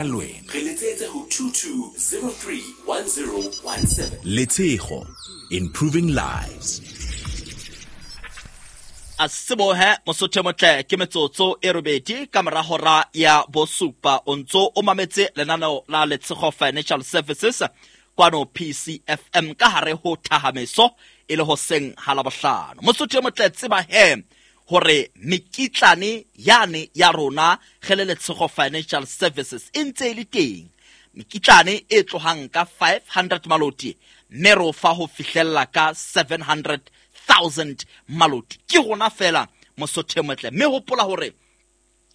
Lwena. Re letsetse ho 22031017. Letshego, improving lives. A sebohe Mosotho motle, ke metsotso e robedi ka mora hora ya bosupa. O ntso o mametse lenaneo la Letshego Financial Services kwano PCFM ka hare ho Thahameso e le hoseng ha Labohlano. Mosotho motle, tseba he hore mekitlane yane ya rona ge le Letshego Financial Services e ntse e le teng. Mekitlane e tlohang ka 500 maloti, mme re o fa ho fihlella ka 700,000 maloti. Ke rona fela, Mosotho motle. Mme hopola hore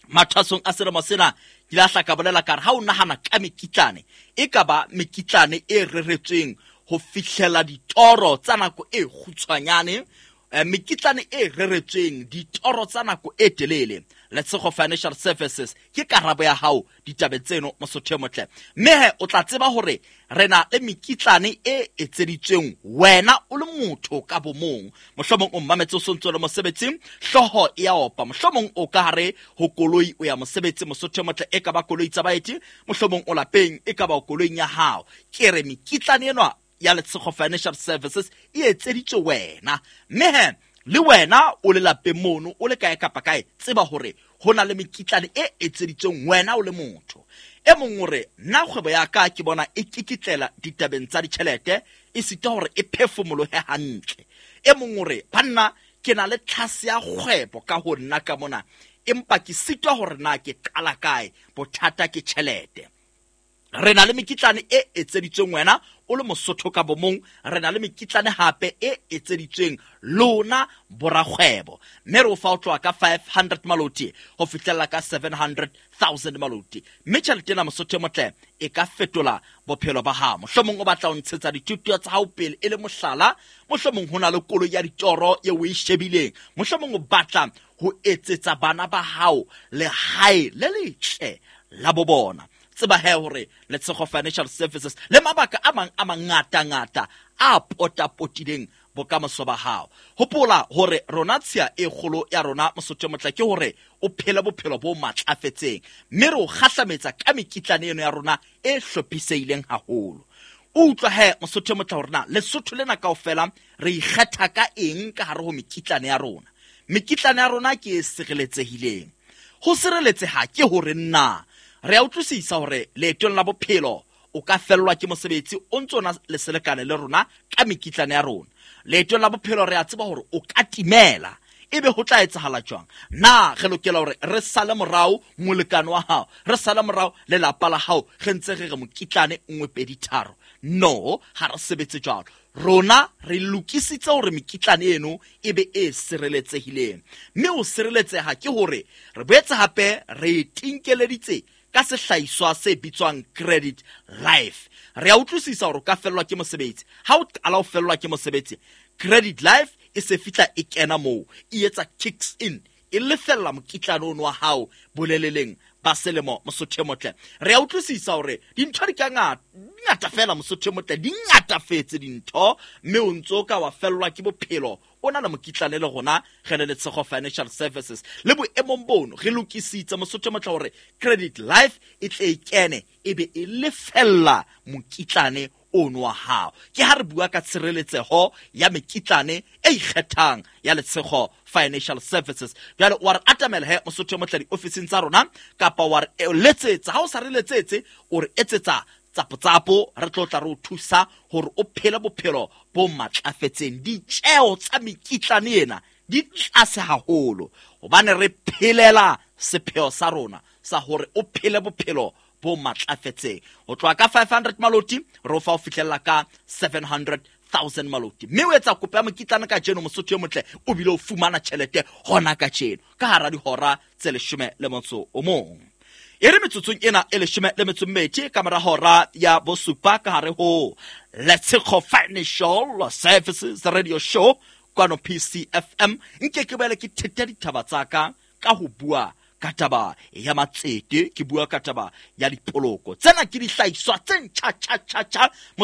mathwasong a selemo sena ke la hla ka bolela ka re ha o nahana ka mekitlane, e ka ba mekitlane e reretsweng ho fihlela ditoro tsa nako e kgutshwanyane, mekitlane e reretsweng ditoro tsa nako e telele. Letshego Financial Services ke karabo ya hao ditabeng tseno, Mosotho motle. Mme he o tla tseba hore re na le mekitlane e etseditsweng wena o le motho ka bomong. Mohlomong o mmametse o sontso le mosebetsing, hlooho e ya opa, mohlomong o ka hare ho koloi o ya mosebetsi, Mosotho motle, e ka ba koloi tsa baeti, mohlomong o lapeng, e ka ba koloing ya hao. Ke re mekitlane enwa ya Letshego Financial Services e etseditswe wena. Mme he le wena o le lapeng mono, o le kae kapa kae, tseba hore ho na le mekitlane e etseditsweng wena o le motho. E mong o re, nna kgwebo ya ka ke bona e kikitlela ditabeng tsa ditjhelete, e sita hore e phefumolohe hantle. E mong o re, banna, ke na le tlhase ya kgwebo ka ho nna ka mona, empa ke sitwa hore na ke qala kae, bothata ke tjhelete. Re na le mekitlane e etseditsweng wena o le Mosotho ka bomong, re na le mekitlane hape e etseditsweng lona borakgwebo. Mme re o fa o tloha ka 500 maloti ho fihlella ka 700,000 maloti. Mme tjhelete ena, Mosotho motle, e ka fetola bophelo ba hao. Mohlomong o batla ho ntshetsa dithuto tsa hao pele e le mohlala, mohlomong ho na le koloi ya ditoro eo o e shebileng, mohlomong o batla ho etsetsa bana ba hao lehae le letle la bo bona. Tseba he hore Letshego Financial Services le mabaka a mang a mangata-ngata a potapotileng bokamoso ba hao. Hopola hore rona tshiya e kgolo ya rona, Mosotho motle, ke hore o phele bophelo bo matlafetseng, mme re o kgahlametsa ka mekitlane eno ya rona e hlophisehileng haholo. O utlwa he, Mosotho motle, hore na Lesotho lena kaofela re ikgetha ka eng ka hare ho mekitlane ya rona. Mekitlane ya rona ke e sireletsehileng. Ho sireletseha ke hore na re a utlwisisa hore leetong la bophelo o ka fellwa ke mosebetsi o ntso na le selekane le rona ka mekitlane ya rona. Leetong la bophelo re a tseba hore o ka timela, ebe ho tla etsahala jwang? Na re lokela hore re sale morao molekane wa hao, re sale morao lelapa la hao, re ntse re re mokitlane 1 2 3? No, ha re sebetse jwalo. Rona re lokisitse hore mekitlane eno e be e sireletsehileng. Mme ho sireletseha ke hore re boetse hape re tinkeleditse ka sehlahiswa se bitswang Credit Life. Re a utlwisisa hore o ka fellwa ke mosebetsi. Ha o qala ho fellwa ke mosebetsi, Credit Life e se fihla e kena moo, e etsa kicks in, e lefella mokitlane ono wa hao boleleleng ba selemo, Mosotho motle. Re a utlwisisa hore dintho di ka ngata fela, Mosotho motle, di ngatafetse dintho, mme o ntso ka wa fellwa ke bophelo o na le mokitlane le rona re le Letshego Financial Services. Le boemong bono re lokisitse, Mosotho motle, hore Credit Life e tle e kene e be e lefella mokitlane ono wa hao. Ke ha re bua ka tshireletseho ya mekitlane e ikgethang ya Letshego Financial Services. Jwale wa re atamela he, Mosotho motle, diofising tsa rona, kapa wa re letsetsa. Ha o sa re letsetse, o re etsetsa tsapotsapo, re tlo tla re o thusa hore o phele bophelo bo matlafetseng. Ditjeo tsa mekitlane ena di tlase haholo hobane re phelela sepheo sa rona sa hore o phele bophelo bo matlafetseng. Ho tloha ka 500 maloti re o fa ho fihlella ka 700,000 maloti. Mme o etsa kopo ya mokitlane kajeno, Mosotho e motle, o bile o fumana tjhelete hona kajeno ka hara dihora tse 11. E re metsotsong ena e 12 ka mora hora ya bosupa ka hare ho Letshego Financial Services Radio Show kwano PCFM, nke ke boele ke thete ditaba tsa ka ka ho bua ka taba ya matsete, ke bua ka taba ya dipoloko. Tsena ke dihlahiswa tse ntjha tjha tjha tjha.